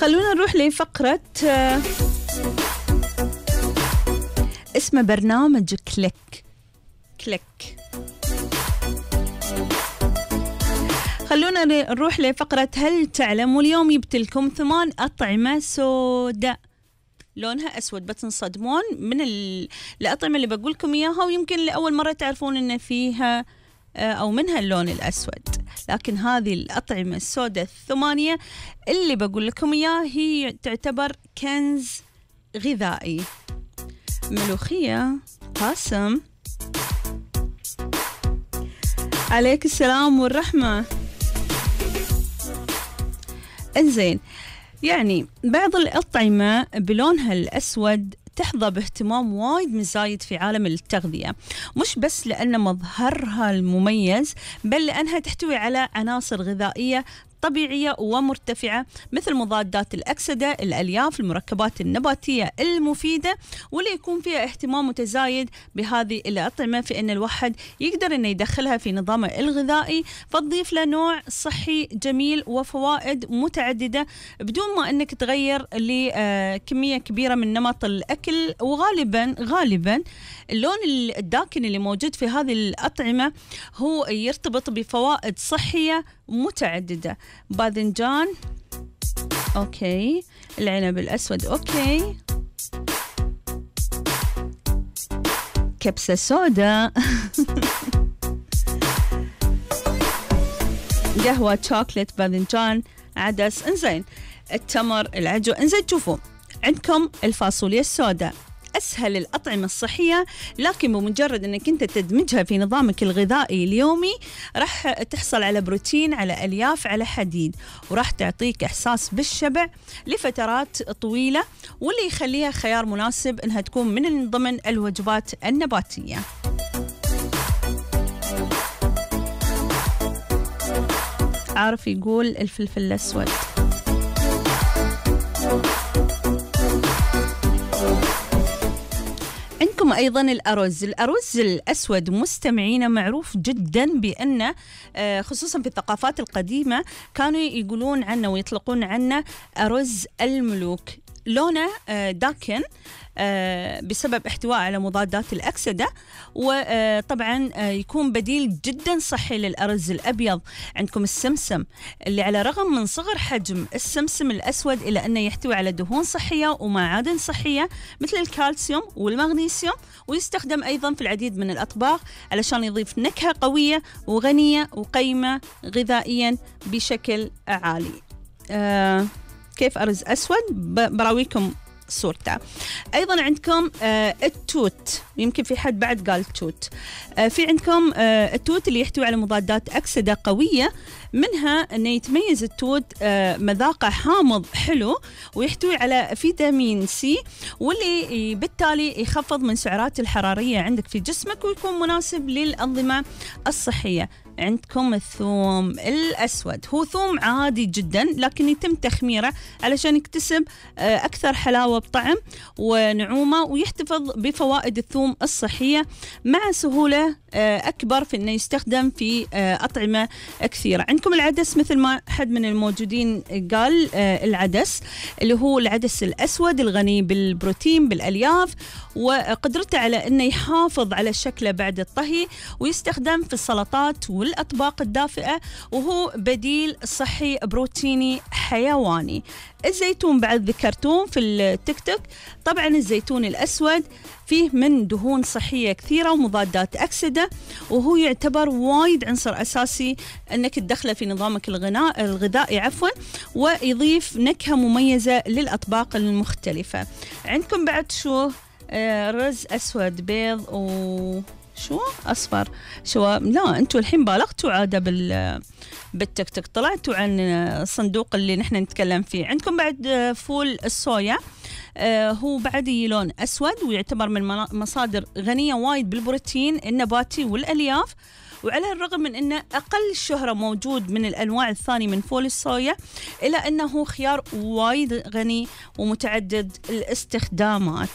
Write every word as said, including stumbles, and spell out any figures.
خلونا نروح لفقرة اسمه برنامج كليك كليك. خلونا نروح لفقرة هل تعلم، واليوم جبت لكم ثمان أطعمة سوداء لونها أسود بتنصدمون من الأطعمة اللي بقول لكم إياها، ويمكن لأول مرة تعرفون إن فيها أو منها اللون الأسود. لكن هذه الأطعمة السوداء الثمانية اللي بقول لكم إياها هي تعتبر كنز غذائي. ملوخية، قاسم، عليك السلام والرحمة. انزين، يعني بعض الأطعمة بلونها الأسود تحظى باهتمام وايد مزايد في عالم التغذية، مش بس لأن مظهرها المميز، بل لأنها تحتوي على عناصر غذائية طبيعية ومرتفعة مثل مضادات الأكسدة، الألياف، المركبات النباتية المفيدة، واللي يكون فيها اهتمام متزايد بهذه الأطعمة في أن الواحد يقدر أنه يدخلها في نظامه الغذائي، فتضيف له نوع صحي جميل وفوائد متعددة بدون ما أنك تغير لكمية كبيرة من نمط الأكل. وغالبا غالبا اللون الداكن اللي موجود في هذه الأطعمة هو يرتبط بفوائد صحية متعددة. باذنجان أوكي، العنب الأسود أوكي، كبسة سودا قهوة شوكليت، باذنجان، عدس. انزين، التمر، العجوة. انزين، شوفوا عندكم الفاصوليا السوداء، أسهل الأطعمة الصحية، لكن بمجرد أنك أنت تدمجها في نظامك الغذائي اليومي راح تحصل على بروتين، على ألياف، على حديد، وراح تعطيك إحساس بالشبع لفترات طويلة، واللي يخليها خيار مناسب أنها تكون من ضمن الوجبات النباتية. عارف يقول الفلفل الأسود. عندكم أيضا الأرز. الأرز الأسود مستمعين معروف جدا بأنه خصوصا في الثقافات القديمة كانوا يقولون عنه ويطلقون عنه أرز الملوك. لونه داكن بسبب احتوائه على مضادات الأكسدة، وطبعا يكون بديل جدا صحي للأرز الأبيض. عندكم السمسم اللي على رغم من صغر حجم السمسم الأسود إلا أنه يحتوي على دهون صحية ومعادن صحية مثل الكالسيوم والمغنيسيوم، ويستخدم أيضا في العديد من الأطباق علشان يضيف نكهة قوية وغنية وقيمة غذائيا بشكل عالي. آه كيف أرز أسود؟ براويكم صورته. أيضا عندكم آه التوت، يمكن في حد بعد قال توت. آه في عندكم آه التوت اللي يحتوي على مضادات أكسدة قوية، منها أنه يتميز التوت آه مذاقه حامض حلو، ويحتوي على فيتامين سي، واللي بالتالي يخفض من سعرات الحرارية عندك في جسمك، ويكون مناسب للأنظمة الصحية. عندكم الثوم الأسود، هو ثوم عادي جدا لكن يتم تخميره علشان يكتسب أكثر حلاوة بطعم ونعومة، ويحتفظ بفوائد الثوم الصحية مع سهولة أكبر في أنه يستخدم في أطعمة كثيرة. عندكم العدس، مثل ما حد من الموجودين قال العدس اللي هو العدس الأسود الغني بالبروتين بالألياف، وقدرته على أنه يحافظ على شكله بعد الطهي، ويستخدم في السلطات والأطباق الدافئة، وهو بديل صحي بروتيني حيواني. الزيتون بعد ذكرتوه في التيك توك. طبعا الزيتون الأسود فيه من دهون صحية كثيرة ومضادات أكسدة، وهو يعتبر وايد عنصر أساسي أنك تدخله في نظامك الغناء الغذائي عفوا، ويضيف نكهة مميزة للأطباق المختلفة. عندكم بعد شو؟ آه رز أسود، بيض و شو أصفر. شو لا أنتوا الحين بالغتوا عادة بال بالتيك توك، طلعتوا عن الصندوق اللي نحن نتكلم فيه. عندكم بعد فول الصويا، آه هو بعد لون أسود، ويعتبر من مصادر غنية وايد بالبروتين النباتي والألياف، وعلى الرغم من أنه أقل شهرة موجود من الأنواع الثانية من فول الصويا، إلا أنه خيار وايد غني ومتعدد الاستخدامات.